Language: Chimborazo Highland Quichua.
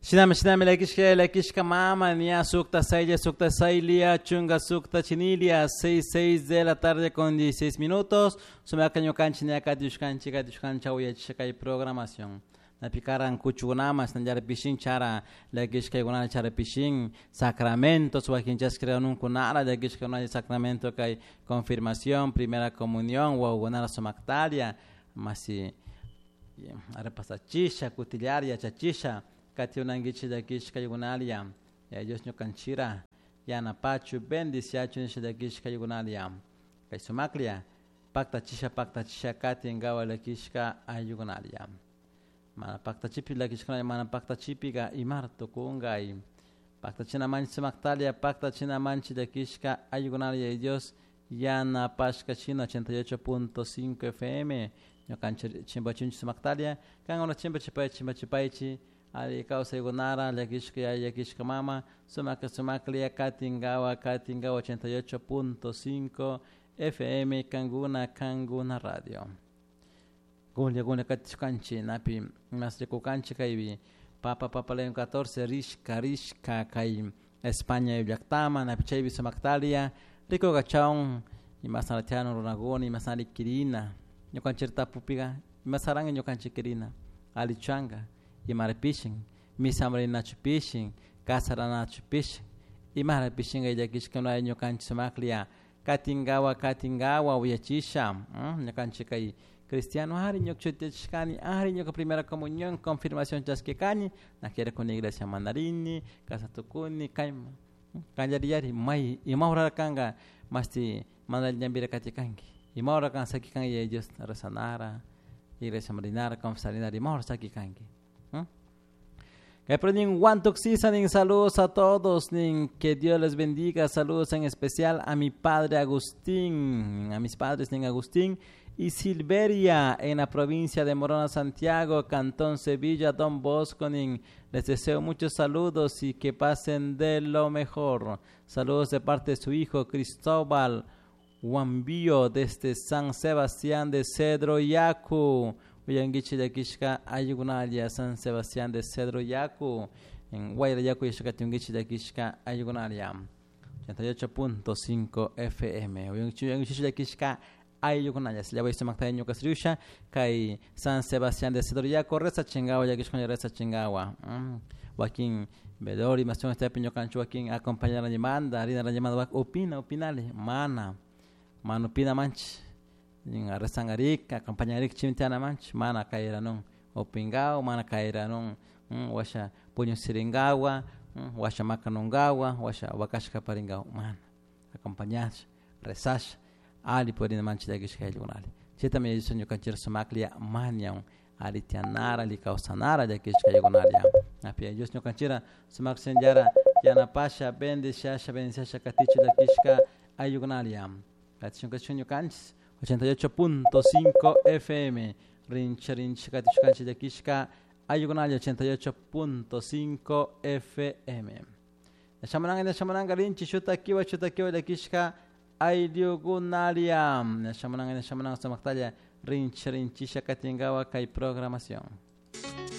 Shinami shinami lakishka lakishka mama niya sukta saylla sukta saylia chunga sukta chinilia 6 6 de la tarde con 16 minutos. Sumaka ñukanchi niya katiushkanchi katiushkancha uyachisha kay programación. Napikaran kuchukunamas nallar pishin chara lakishkaykunata chara pishin sacramentos wakinchaskirakununkunara lakishkaykunata sacramento kay confirmación primera comunión wawakunara sumaktalia masi repasachisha kutillar yachachisha katiunankichik llakishkaykunalia ya Dios ñukanchira yanapachu bendiciachu nisha llakishkaykunalia kay sumaklia paktachisha paktachisha katinkawa llakishka ayllukunalia mana paktachipi llakishkuna mana paktachipiga imar tukunkay paktachina manchi sumaktalia paktachina manchi llakishka ayllukunalia Dios yanapashka shina 88.5 FM ñukanchik chimpachinchik sumaktalia kankuna chimpachipay chimpachipaychik alli kawsaykunara llakishka yaya llakishka mama sumakla sumakla katinkawa katinkawa 88.5 FM kankuna kankuna radio. Gunlla gunlla katishkanchik napi mas rikukanchik kaypi Papa Papa León 14 rishka rishka kay España llaktaman napi chaypi sumaktalia rikukachawun imasnara tiyan runakuna imasnara kirina ñukanchik tapupiga imasaranka ñukanchik kirina allichanka imara pishin misamrinachu pishin kasaranachu pishin imara pishinka llakishka ñukanchik sumaklla katinkawa katinkawa uyachisha ñukanchik kay cristiano ari ñuka chutiyachishkani ari ñuka primera comunión confirmación chaskikani na quiere con iglesia mandarini kasatukuni kayma kallariyari may ima hora kanka masti mana ñambira katikanki ima hora kan sakikanki Yaya Dios rezanara iglesia rinara confesarinara ima hora sakikanki. Nin Guantuxisa, nin saludos a todos, nin que Dios les bendiga, saludos en especial a mi padre Agustín, a mis padres nin Agustín y Silveria en la provincia de Morona, Santiago, Cantón Sevilla, Don Bosco, nin les deseo muchos saludos y que pasen de lo mejor. Saludos de parte de su hijo Cristóbal Huambío desde San Sebastián de Cedro Yacu. Uyanguichi llakishka ayukunalia San Sebastián de Cedro Yacu en Guayra Yacu yashakatunguichi llakishka ayukunalia 88.5 FM. Uyanguichi llakishka ayukunalia sillaway sumakta ñuka kay San Sebastián de Cedro Yacu reza chingawa llakishka reza chingawa. Wakin velori masión estepi ñukanchik wakin acompañar manda rina manda opina opinale mana mana opina manchi rezangarik acompañarik chimtiana manchi mana kayranun opingawa mana kayranun washa puñusiringawa washa makanungawa washa wakashka paringawa mana acompañasha rezasha ali purina manchi llakishka ayllukunali chaytami Yaya Dios ñukanchik sumaklla mañan ali tianara ali kawsanara llakishka ayllukunalia api Yaya Dios ñukanchira sumak shinallara yanapasha bendiciasha bendiciasha katichu llakishka ayllukunalia katishun katishun ñukanchik 88.5 FM rincha rincha katishkanchik llakishka ayllukunalia 88.5 FM Shamananga shamananga rinchi shutakiwa shutakiwa llakishka ayllukunalia shamananga shamananga sumaktalla rincha rinchisha katinkawa kay programación.